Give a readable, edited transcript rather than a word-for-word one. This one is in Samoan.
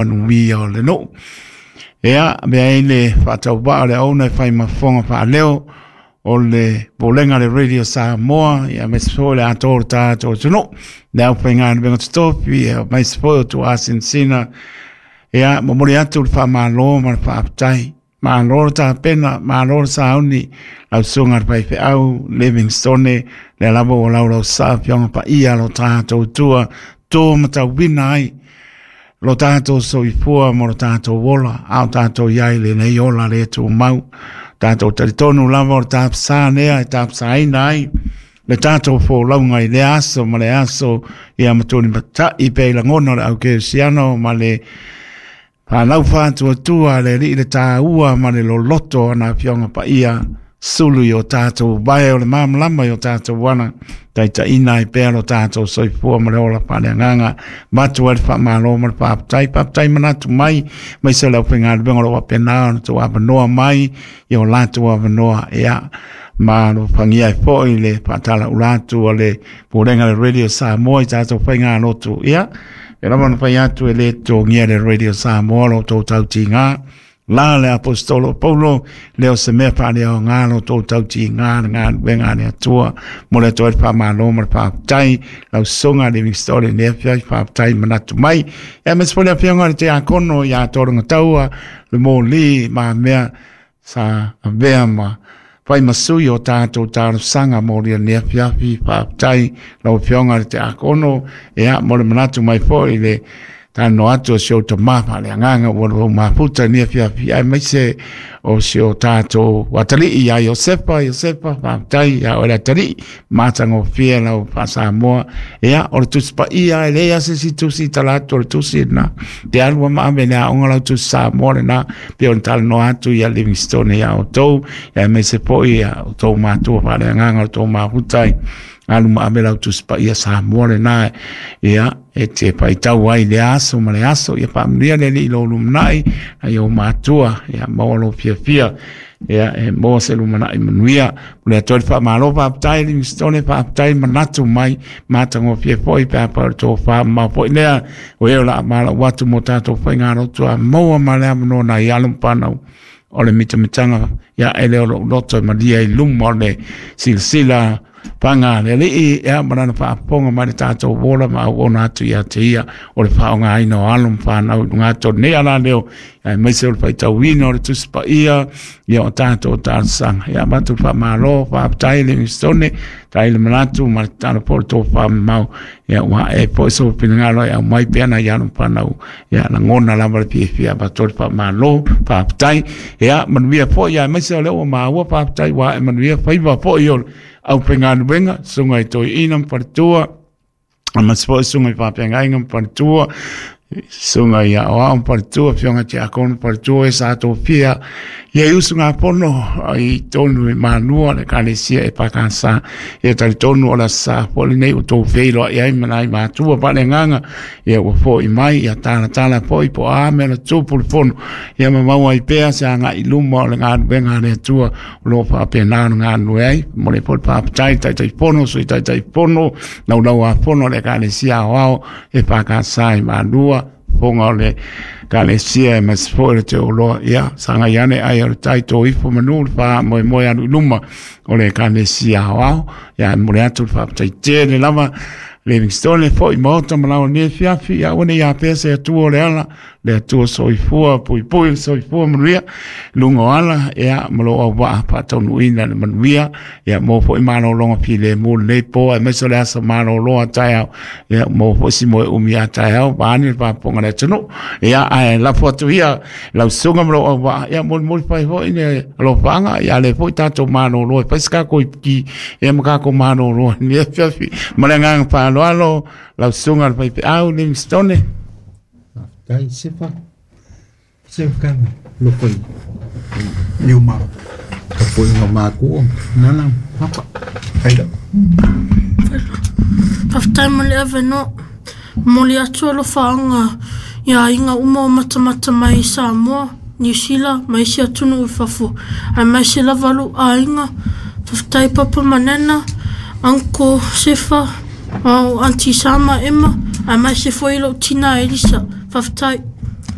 Manuia o le nuu. Ia, avea ai le faatauvaa o le auauna e fai ma fofoga faaleo o le Pulega a le Radio Samoa, ia aemaise foi o le atoa o le tatou atunuu, le aufaigaluega totofi, ia aemaise foi o tuasinasina. Ia, momoli atu le faamalo ma le faafetai. Malo le tapena, malo le sauni, lau susuga i le faifeau Livingstone, lea lava ua laulausa afioga paia lo tatou tua, to matauina ai lo tatou soifua ma lo tatou ola, a o tatou i ai lenei ola le tumau. Tatou talitonu lava o le tapasa lea e tapasaina ai le tatou folauga i lea aso ma le aso, ia matulimatai pea i lagona o le aukerisiano ma le fanau faatuatua le alii le taua ma le loloto o ana afioga paia sulu i o tatou vae o le malamalama i o tatou ala, taitaiina ai pea lo tatou soifua ma le ola faaleagaga. Avatu ai le faamalo ma le faafetai, faafetai manatu mai, aemaise o le aufaigaluega o lo o faapena ona outou avanoa mai i o latou avanoa, ia ma alofagia ai foi le faatalaula atu a le Pulega a le Radio Samoa i tatou faigalotu. Ia, e lava ona fai atu e le totogia le Radio Samoa lo outou tautiga. La le Aposetolo o Paulo, le o se mea faaleaoga lo outou tautiga le galuega a le Atua. Mo le atu ai le faamalo ma le faafetai, lau susuga Livingstone i le afiafi, faafetai manatu mai. Ia, aemaise foi le afioga i le Tiakono ia Tologataua, le moli ma mea sa avea ma fai ma sui o tatou talosaga mo lenei afiafi. Faafetai lau Afioga i le Tiakono, ia, mo le manatu mai foi i le talanoa atu o si ou tama faaleagaga ua lou mafuta i lenei afiafi, aemaise o si o tatou atalii ia Iosefa. Iosefa, faafetai ia oe le atalii, matagofie lau faasamoa. Ia, o le Tusi Paia, e leai lava se isi tusi i tala atu o le tusi lena. Te alu ma ave i le aoga lau Tusi Samoa lena, pei ona talanoa atu ia Livingstone ia outou, aemaise foi ia outou matua faaleagaga o le tou mafuta ai. Alu ma ave lau Tusi Paia Samoa lena, ia, e te faitau ai i le aso ma le aso. Ia faamanuia le Alii i lou lumanai, nai ou matua, ia maua lou fiafia. Ia, e maua se lumanai manuia. O le Atua le faamalo, faafetai Livingstone, faafetai manatu mai, matagofie foi pe a fai o le tofa mamao foi lea, o e o le a valaau atu mo tatou faigalotu a maua ma le avanoa nai alo ma fanau o le mitamitaga, ia e le o lou loto e malia i luma o le silasila paga le Alii, ia ma lana faafofoga mai le tatou ola ma auauna atu ia te ia o le faaaogaina o alo ma fanau i luga atu o lenei alaleo, aemaise o le faitauina o le Tusi Paia, ia o tatou talosaga. Ia avatu le faamalo, faafetai Livingstone, faafetai le manatu ma le tatalo foi o le tofa mamao, ia ua ae foi sou finagalo e aumai pea nai alo ma fanau, ia lagona lava le fiafia, avatu le faamalo, faafetai. Ia manuia foi, aemaise o lea ua maua, faafetai ua ae manuia faiva foi o le aufaigaluega, susuga i toeaina ma faletua, aemaise foi susuga i faafeagaiga ma faletua, susuga i aoao ma faletua, afioga i tiakono ma faletua, e sa tofia ia i usugafono i tonu i Malua le Ekalesia EFKS. Ia talitonu o le aso sa foi lenei ua outou feiloai ai ma nai matua faaleagaga, ia ua foi mai, ia talatala foi po o a mea na tupu le fono, ia ma maua ai pea se agai i luma o le galuega a le Atua o lo o faapena ona galulue ai. Momoli ai foi le faafetai i le Taitaifono, Sui Taitaifono, Laulau-a-Fono a le Ekalesia Aoao EFKS i Malua, fofoga o le Ekalesia aemaise foi o le Teuloa. Ia sagai ane ai o le tai tō ifo manu le faamoemoe alu i luma o le Ekalesia Aoao. Ia e momoli atu le faafetai tele lava Livingstone foi maota ma lau nei afiafi, ia aua ne i afea se Atua o le ala, le Atua soifua, puipui le soifua manuia, luga o ala, ia ma lou auvaa faataunuuina le manuia, ia maua foi malologa filemu lenei po, aemaise o le aso malolo a taeao, ia maua foi si moe umi a taeao, vaeane le faafofoga a le atunuu. Ia ae lafo atu ia lau susuga ma lou auvaa, ia molimoli fai foi le alofaaga, ia lea foi tatou malolo e fai se tatou ipuki, ia ma tatou malolo i lenei afiafi. Ma le agaga faaaloalo, lau susuga i le faifeau Livingstone. Faafetai Sefa. Sefa kana loko i i o ma tapuaiga matua nana papa. Haida. Faafetai mo le avanoa. Momoli atu alofaaga i aiga uma o matamata mai i Samoa, Niu Sila ma isi atunuu i fafo, aemaise lava lou aiga. Faafetai Papa ma Nana, Uncle Sefa, Aunty Sama Emma, aemaise foi lou tina Elisa. Faafetai.